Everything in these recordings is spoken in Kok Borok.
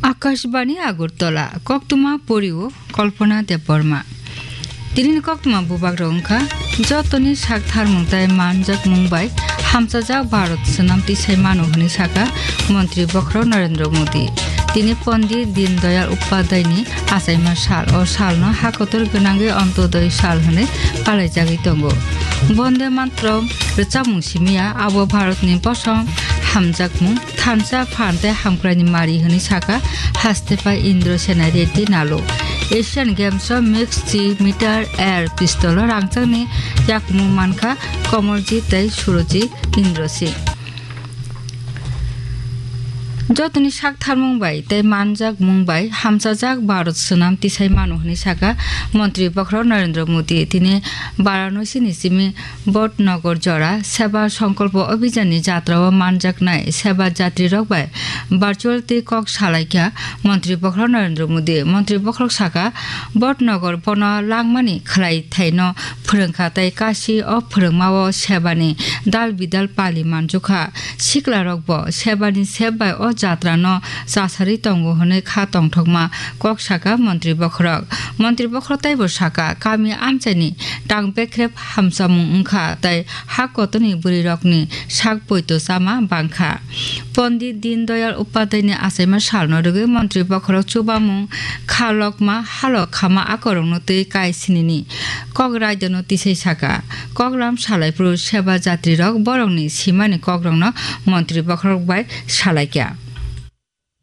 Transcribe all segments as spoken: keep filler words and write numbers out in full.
Akashbani Agartala, koktwma porio Kalpana Debbarma. Tinini koktwma bubagrok wngkha, jotoni sak tharmung tei manjakmung bai hamchajak Bharat swnam tisai mano hwnwi sakha Montri Bokhorok Narendra Modi. Tini Pondit Deen Dayal Upadhyayani achaima sal, o salno hakotor gwnangwi Antyodaya sal hwnwi palaijagwi tongo. Bonde Mataram rwchapmung simiya abo Bharatni bosong hamjakmung thansa phan tei hamkraini mari hwnwi sakha haste pai Indrasena Reddy Nalu. Asian Games o mixed chi meter air pistol o rangchakni yakmung mankha Kamalji tei Surojit Indrasing. Jotoni sak tharmung bai tei manjakmung bai hamchajak Bharat swnam tisai mano hwnwi sakha Montri Bokhorok Narendra Modi. Tini Varanasi ni simi Bodhnagar jora Seba Sankalpa Abhiyan ni jatra o manjaknai Seba jatri rok bai virtual twi kok salaikha Montri Bokhorok Narendra Modi. Montri Bokhorok sakha, Bodhnagar bono langmani khwlai thaino phwrwngkha tei Kashi o phwrwngma o Seba ni dal bidal pali manjukha. Sikla rok bo Seba ni sep bai o jatra no chasarwi tongo hwnwi kha tongthokma kok sakha Montri Bokhorok. Montri Bokhorok teibo sakha, kami amchaini tang bekrep hamchamung wngkha tei ha kotorni bwrwirokni sak poito chama bangkha. Pondit Deen Dayal Upadhyayani achaima salno rwgwi Montri Bokhorok chubamung kha lokma halo khama akorokno twi kai sinini kok raidano tisai sakha. Koklam salaiphuru Seba jatrirok borokni simani kokrokno Montri Bokhorok bai salaikha.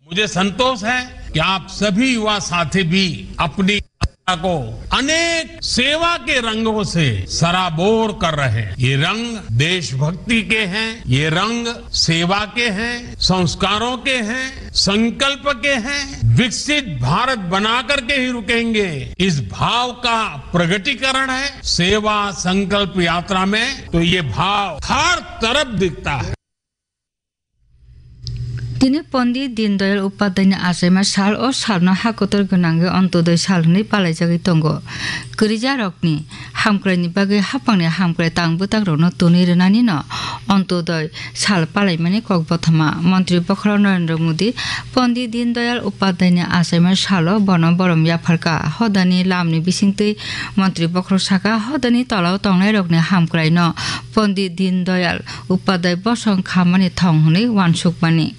मुझे संतोष है कि आप सभी युवा साथी भी अपनी यात्रा को अनेक सेवा के रंगों से सराबोर कर रहे हैं। ये रंग देशभक्ति के हैं, ये रंग सेवा के हैं, संस्कारों के हैं, संकल्प के हैं। विकसित भारत बना करके ही रुकेंगे, इस भाव का प्रगटीकरण है सेवा संकल्प यात्रा में। तो ये भाव हर तरफ दिखता है। Tini Pondit Deen Dayal Upadhyayani achaima sal, o salno hakotor gwnangwi Antyodaya sal hwnwi palaijagwi tongo. Kwrwijarokni hamkraini bagwi haphangni hamkrai tang bwtakrokno tonwi rwnanino Antyodaya sal palaimani kok bothoma. Montri Bokhorok Narendra Modi Pondit Deen Dayal Upadhyayani achaima salo bono borom yapharkha. Hodani lamni bisingtwi Montri Bokhorok sakha, hodani tolao tongnairokni hamkraino Pondit Deen Dayal Upadhyay bosong khamani thong hwnwi uansukmani.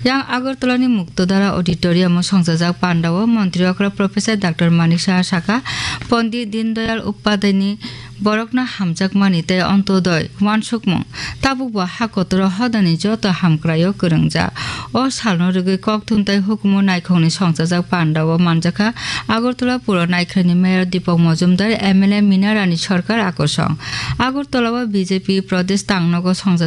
Yang Agartalani Muktodhara Auditorium-o songchajak pandao Montri Okra Professor Doctor Manik Saha sakha, Pondit Deen Dayal Upadhyayani borokno hamjakmani tei Antyodaya uansukmung tabukbo ha kotoro hodani joto hamkraio kwrwngjak. O salno rwgwi kokthum tei hukumu naikhokni songchajak pandao manjakha Agartala Puro Naikhraini Mayor Deepak Majumdar, M L A Mina Rani Sarkar akosong. Agartala-o B J P Pradesh tangnogo songchajak